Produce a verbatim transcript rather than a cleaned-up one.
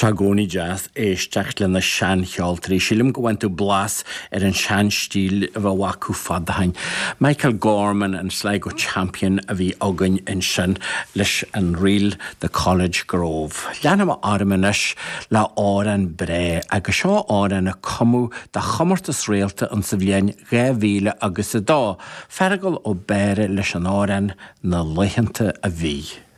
Sé i gcónaí deas éisteacht le na seancheoltóirí. Sílim go bhfaigheann tú blas ar an seanstíl a bheadh acu fad ó shin. Michael Gorman an Sligo Champion a bhí againn ansin leis an ríl The College Grove. Leanfaidh mé orm anois le amhrán breá agus seo amhrán a cumadh do chomórtas Réalta an sa bhliain dhá mhíle agus a dó. Feargal Ó Béarra leis an amhrán na laethanta a bhí.